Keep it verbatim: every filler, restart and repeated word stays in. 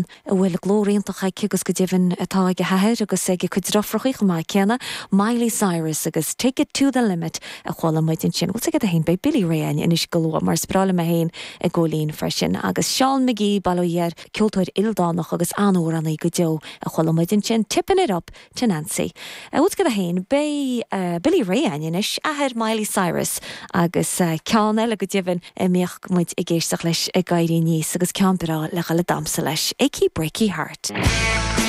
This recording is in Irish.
a bhfuil glór iontach aici agus go deimhin atá ag a hathair agus ag a cuid deirfiúracha chomh maith céanna Miley Cyrus agus Take It to the Limit a chuala muid ansin. Bhfuil a fhios agat beidh Billy Ray anois go luath mar spráile me héin ag ggólín freisin agus Seán McGee bailóir ceoltóir ildánach agus an-amhránaí go deo a chuala muid ansin Tippin It Up to Nancy. Bhfuil a fhios agat féin beidh uh, Billy Ray anois athair Miley Cyrus agus uh, ceann eile go deimhin a mbíodh muid ag éisteacht leis ag éirí aníos agus ceann breá le le damhsa leis. Achy Breaky Heart.